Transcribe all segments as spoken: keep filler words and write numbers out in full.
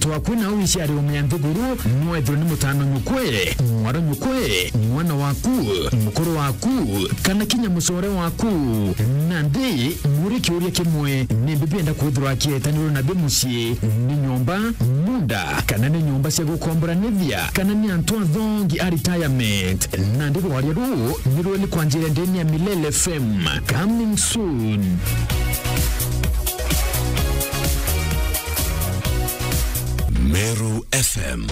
Twakwina au iciari ume ya nthiguru, nwethirwe ni mutano nyukwe, mwaro nyukwe, mwana waku, mukuru waku, kana kinya mucore waku. Nandi, muri kiuria kimwe, ni mbi bienda kwithirwa akietanirwe na bi mucii? Ni nyomba, munda, kana ni nyomba cia gukomboranithia, kana ni antu athongi a retirement? Nandi rwaria ruu ni rweli kwanjira ndeni ya Milele F M. Coming soon. Meru F M.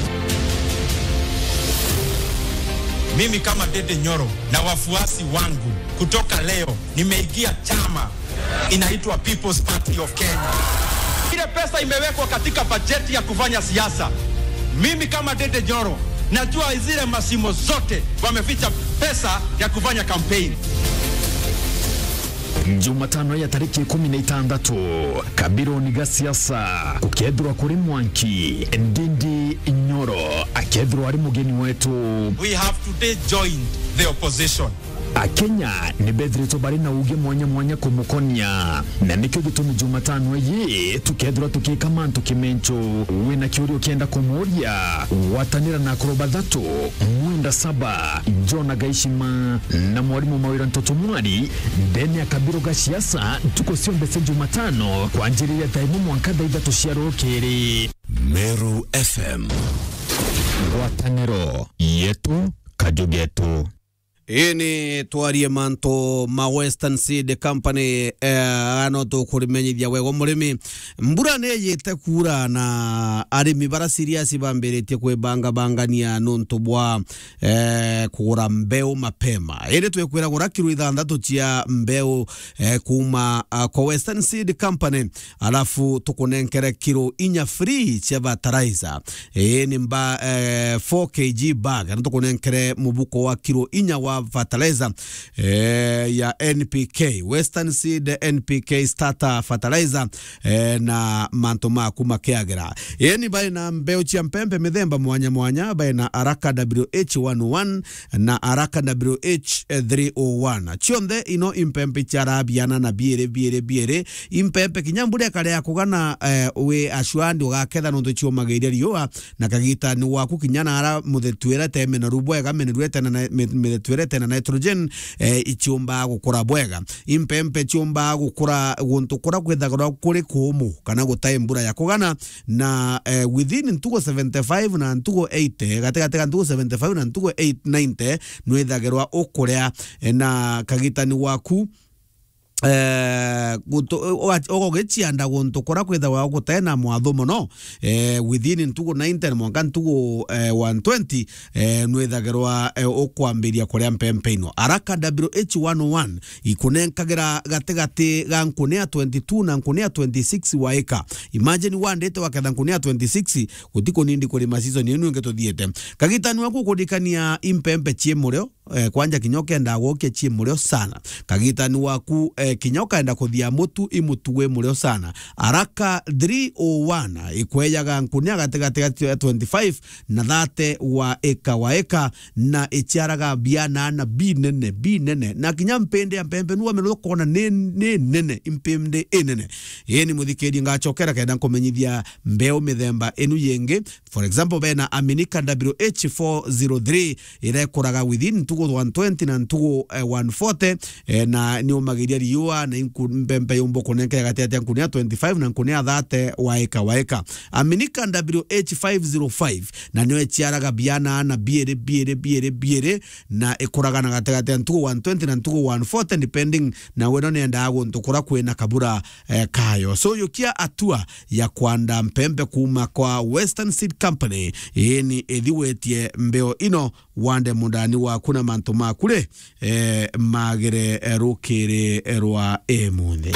Mimi kama Dede Nyoro na wafuasi wangu, kutoka leo nimeingia chama inaitwa People's Party of Kenya. Ile pesa imewekwa katika bajeti ya kufanya siasa, mimi kama Dede Nyoro najua zile mashimo zote wameficha pesa ya kufanya campaign. Jumatano ya tariki ikumi na itandatu, kabironi ga siasa, gukethirwa kuri Mwanki, Ndindi Nyoro akethirwa ari mugeni wetu. We have today joined the opposition. Akenya ni bethiritwe bari na uge mwanya mwanya kumukonia, na nikio gitumi Jumatano iyi tukethirwa tukika mantu kimencho. Wina kiuria ukienda kumuuria, gwatanira na akuru bathatu, mwenda saba, Jona Gaishima na mwarimu Mawira Ntoto Mwari, ndene ya kabiro ga siasa, ntuku cionthe cia Jumatano, kwanjiriria thaa imwe mwanka thaa ithatu cia rukiri. Meru F M. Ngwataniro yetu, kaju getu. Ii ni twarie mantu ma Western Seed Company, eh, no tukurimenyithia wega murimi. Mbura ni yite kuura na arimi bara serious bambiritie kwibangabangania nuntu bwa, eh, kugura mbeu mapema. Indi twikwira gura kiro ithanthatu cia mbeu, eh, kuuma, ah, kwa Western Seed Company, alafu tukunenkere kiro inya free cia fertilizer. Ii ni mba, eh, four K G bag, na tukunenkere mubuko wa kiro inya wa fertilizer, eh, ya N P K, Western Seed N P K starter fertilizer, eh, na mantu maku makiagira. Ii ni bai na mbeu cia mpempe mithemba mwanya mwanya, bai na Araka W H one oh one na Araka W H three oh one. Cionthe ino impempe ciarabiana na biiri, biiri, biiri. Impempe kinya mbura ikarea kugana, eh, wi assured ugaketha nontu ciumagiria riua, na kagitani waku kinya nara muthetuire te menaru bwega, menaru etena na, mi-, mithetuire etena nitrogen, eh, iciumbaga gukura bwega. Impempe ciumbaga gukura guntu kura kwithagirwa kuri kuumu kana gutai mbura ya kugana, na, eh, within ntugu seventy-five na ntugu eighty, gatigati ga ntugu seventy-five na ntugu eight, ninety, nwithagirwa ukuria, eh, na kagitani waku, eh, gutu-, uga-, ugugicianda guntu kura kwithagwa gutena mwatho mono, eh, within ntugu ninety na mwanka ntugu, eh, one twenty, eh, nwithagirwa, eh, ukwambiria kuria mpempe ino. Araka W H one oh one ikunenkagira gatigati ga nkuni ya twenty-two na nkuni ya twenty-six wa ika. Imagine wandite waketha nkuni ya twenty-six, gutikunindi kurima season inu ingi tuthiete. Kagitani waku ukurikania impempe cii murio, eh, kwanja kinya ukendaa gwokia cii murio sana. Kagitani waku, eh, kinya ukaenda kuthia mutu, i mutu wi murio sana. Araka three oh one ikwejaga nkunia gatigati ga twenty-five na thirty wa ika wa ika, na iciaraga biana na binene, binene. Na kinya mpindi ya mpempe nuwa mero ukona ni, ni nene, impindi inene. Ii ni muthikiri ngacokera kenda nkumenyithia mbeu mithemba inu yingi. For example, bena Aminika W H four zero three, iria ikuraga within ntugu one twenty na ntugu, eh, one forty, eh, na ni umagiria riua, na inku-, mpempe yumba kunenkera gati ya nkunia twenty-five na nkunia thirty wa ika wa ika. Aminika W H five zero five, na nio iciaraga biana na biiri, biiri, biiri, biiri, na ikuraga na gati gati ya ntugu one twenty na ntugu one forty, depending na we no niendaga guntu kura kwina kabura, eh, kayo. So, yukia atua ya kwanda mpempe kuuma kwa Western Seed Company, ii ni ithi wetie mbeo ino, wande mundani waku na mantu maku ri, eh, magire, eh, rukiri, eh, rwa imunthi.